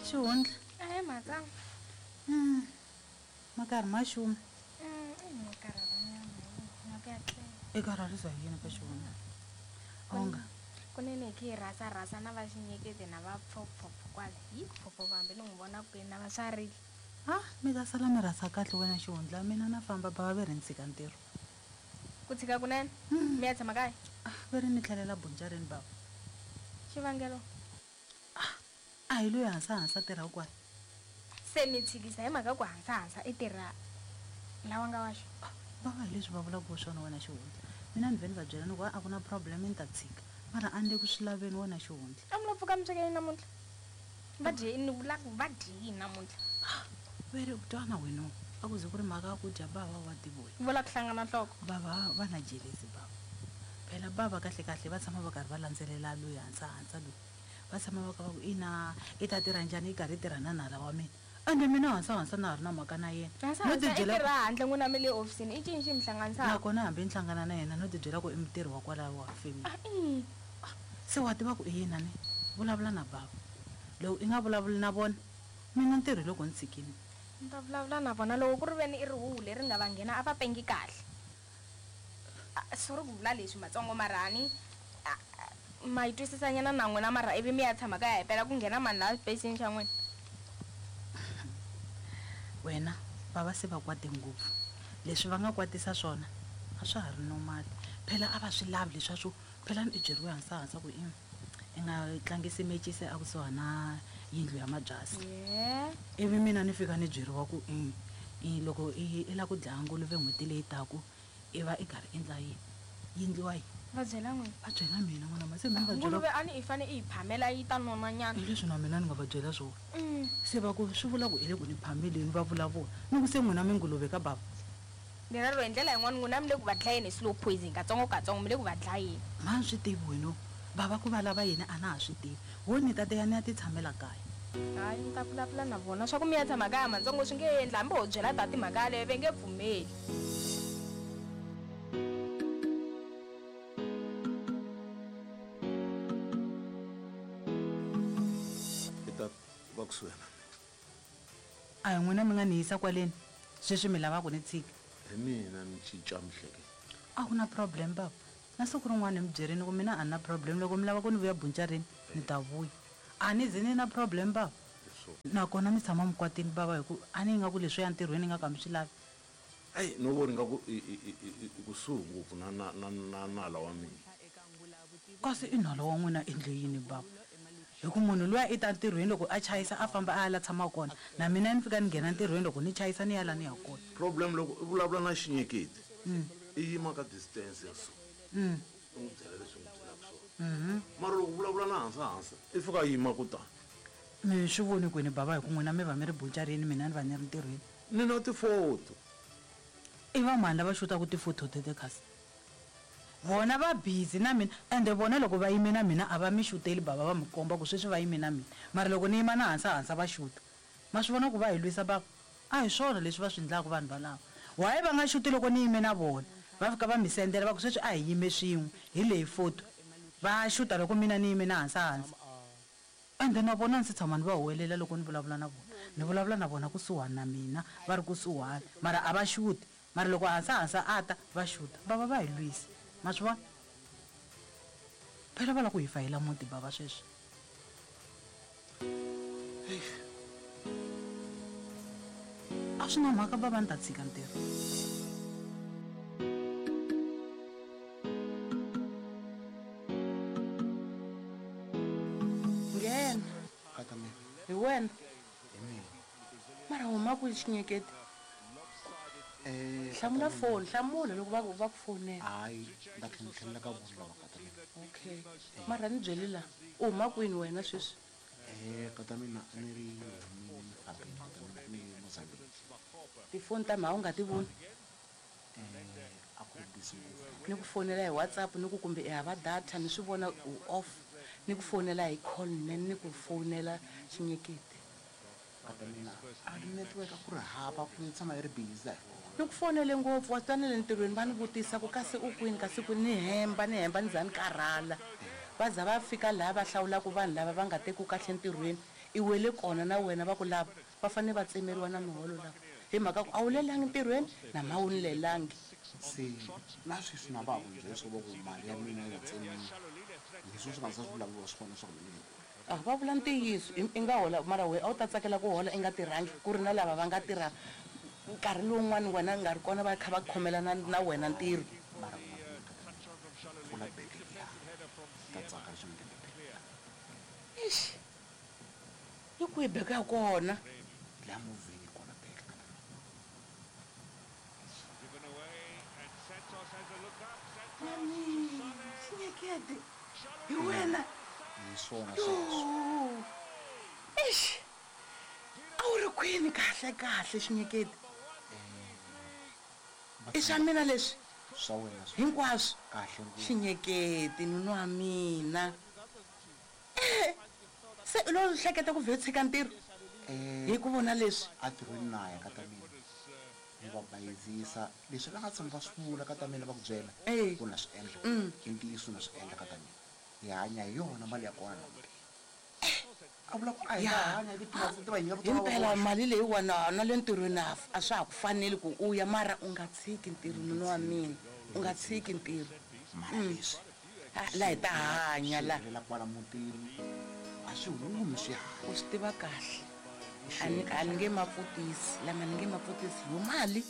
Xihundla. Ahee matsana. Makarhi ma xuma. I karhalanyana na ku ya tlela. I karharisa hi yini ka xihundla? Onga. Kunene hi khe hi rhasarhasa na va xinyeketi na va pfopfopfo kwale. Yi pfopfopfo hambi ni n'wi vona kwini na va swarile. Ha, mi ta sala mi rhasa kahle wena xihundla, mina na famba bava ve ri ni tshika ntirho. Ku tshika kunene? Mi ya tshama kaya? Ah, ve ri ni tlhelela buncareni bava. Xivangelo? Ah, a hi loyi hansahansa a tirhaka kwala. Se mi tshikisa hi mhaka ku hansahansa i tirha lawa nga wa xo? Ah, bava hi leswi va vulaka swona wena xihundla. Mina ni vhe ni va byela ni ku a ku na problem ni ta tshika. Mara a ni le ku swi laveni wena xihundla. A mi lo pfuka mi sweke yini namuntlha? Va dye ni vula ku va dye yini namuntlha? Ah, ve ri u twana wena a ku ze ku ri mhaka ya ku dya bava wa tivoya. Vula ku hlangana nhloko. Bava va na jelezi bava. Phela bava kahle kahle va tshama va karhi va landzelela loyi hansahansa loyi. Va tshama va kha va ku ina i ta tirha njhani i karhi i tirha na nala wa mina. Ende mina hansahansa na ha ri na mhaka na yena. No Hansahansa i tibyela ku tirha handle n'wina mi le hofisini i cini xi mi hlanganisaka? Nakona hambi ni hlangana na yena no tibyela ku i mutirhi wa kwalaho wa family. Ah, i. Ah, se wa tiva ku i yini a ni vulavula na bava. Loko i nga vulavuli na vona mina ntirho hi loko ni tshikile. Ni ta vulavula na vona loko ku ri veni i rihuhu leri nga va nghena a va pengi kahle. Ah, sorry ku vula leswi matsongo mara ni ah, ma yi twisisanyana na n'wina mara ivi mi ya tshama kaya hi pela ku nghena mani laha xipeyisini xa n'wina. Wena va va se va kwate ngopfu. Leswi va nga kwatisa swona a swa ha ri normal. Phela a va swi lavi leswiya swo phela ni i byeriwe hansahansa ku i i nga tlangisi mecisi a kusuhani na yindlu ya mabyasi. Yeah. Ivi mina ni fika ni byeriwa ku i i loko i i lava ku dlaya nguluve n'hweti leyi taku i va i karhi endla yini? Yi endliwa yini? Va byela n'wina. Va byela mina n'wana ma se mina va byela. Nguluve a ni i fane i yi phamela yi ta nona nyana. Hi leswi na mina ni nga va byela swona. Se va ku swi vula ku i le ku ni phameleni va vula vona. Ni ku se n'wina mi nguluve ka bava. Lero hi ndlela yin'wana n'wina mi le ku va dlayeni hi slow poison katsongo katsongo mi le ku va dlayeni. Ma swi tivi wena bava ku va lava yini a na ha swi tivi. Ho ni ta teya ni ya ti tshamela kaya. Hayi ni ta vulavula na vona swa ku mi ya tshama kaya matsongo swi nge endli hambi ho byela tati mhaka yaleyo ve nge pfumeli. I ta va kusuhi na mina. A hi n'wina mi nga ni yisa kwaleni, sweswi mi lava ku ni tshika. Hi mina ni cinca mihleketo. A ku na problem bava. Na siku rin'wana ni mi byerini ku mina a ni na problem loko mi lava ku ni vuya buncareni ni ta vuya. A ni ze ni na problem bava. Nakona mi tshama mi kwatile bava hi ku a ni ingaku leswiya ntirhweni ingaku a mi swi lavi. Eyi no vona ingaku i i i i i kusuhi ngopfu na na na na nala wa mina. Kasi i nala wa n'wina endle yini bava? Hi ku munhu luya i ta ntirhweni loko a chayisa a famba a ya la tshamaka kona, na mina ni fika ni nghena ntirhweni loko ni chayisa ni ya la ni yaka kona. Problem loko i vulavula na xinyeketi i yima ka distance ya so i n'wi byela leswi u n'wi byelaka swona, mara loko u vulavula na hansi hansi i fika a yima kutani. Mi swi voni kwini bava hi ku n'wina mi va mi ri bucarini mina ni va ni ri ntirhweni. Ni na tifoto. I va mani lava xutaka tifoto tete kasi? Vona va busy na mina ende vona loko va yime na mina a va mi xuteli bava va mi komba ku sweswi va yime na mina mara loko ni yima na hansa hansa va xuta. Ma swi vona ku va hi lwisa bava? A hi swona leswi va swi ndlaka vanhu valava. Why va nga xuti loko ni yime na vona? Va fika va mi sendela va ku sweswi a hi yime swin'we hi leyi foto. Va xuta loko mina ni yime na hansa hansa. Ende na vona a ndzi se tshama ni va huwelela loko ni vulavula na vona. Ni vulavula na vona kusuhani na mina, va ri kusuhani, mara a va xuti. Mara loko hansa-hansa a ta, va xuta. Bava va hi lwisa. Ma swi vona? Phela va lava ku hi fayela muti bava sweswi. A swi na mhaka bava ni ta tshika ntirho. Nghena. Kata mina. Hi wena. Hi mina. Mara huma kwihi xinyeketi? Eh, Hlamula kata mina. foni, hlamula loko va ku va ku fonela. Hayi, ni ta tlhela ni tlhelela ka vona lava kata mina. Okay. Mara ni byeli la, u huma kwini wena sweswi? Eh, kata mina a ni ri humile ni fambile kata mina ni ye Mozambique. Tifoni ta mha u nga ti voni? Eh, a ku ri busy ngopfu. Ni ku fonela hi WhatsApp ni ku kumbe i hava data ni swi vona u off. Ni ku fonela hi call ne ni ku fonela xinyeketi. Kata mina a network a ku ri hava ku ni tshama yi ri busy a hi kona. Ni ku fonele ngopfu wa swi tiva na le ntirhweni va ni vutisa ku kasi u kwini kasi kwini ni hemba ni hemba ni za ni karhala. Va za va fika laha va hlawulaka vanhu lava va nga tekiwi kahle ntirhweni, i wele kona na wena va ku lava va fanele va tsemeriwa na miholo lava hi mhaka ku a wu lelangi ntirhweni na ma wu ni lelangi. Se na sweswi na va ha ku byela swo va ku mali ya mina yi nga tsemiwi, leswi swi nga za swi vulavuriwa swona swa ku mina ni holi. A va vula ntiyiso, i nga hola mara wehe a wu ta tsakela ku hola i nga tirhangi ku ri na lava va nga tirha nkarhi lowun'wani wena u nga ri kona va kha va khomelana na wena ntirho. Mara ku nga vi na kata mina, pfula bege liya, ni ta tsaka leswi nga nghena bege liya. Eish, yi kwihi bege ya kona? Liya movheni yi kona bege kata mina. Mami, Xinyekete, hi wena? Hi swona sweswo. Yo! Eish, a wu ri kwini kahle kahle Xinyekete? I swa mina leswi? Swa wena swi Hinkwaswo? kahle ngopfu. Xinyekete, nuna wa mina. Eh, se u lo hleketa ku vhe tshika ntirho hi ku vona leswi? Entirhweni na ya ka ta mina ni va bayizisa leswi va nga tshama va swi vula ka ta mina va ku byela ku na swi endla i ntiyiso na swi endla ka ta mina hi hanya hi yona mali ya kona na mutini a vula ku a hi nga hanya hi ti-peanuts ti va nyika Hi mpela mali leyiwani na le ntirhweni a swa ha ku faneli ku u ya mara u nga tshiki ntirho nuna wa mina u nga tshiki ntirho mara leswi la hi ta hanya la helela kwala mutini a swi humi swi hanya U swi tiva kahle a ni a ni nge ma pfutisi lama ni nge ma pfutisi yo mali.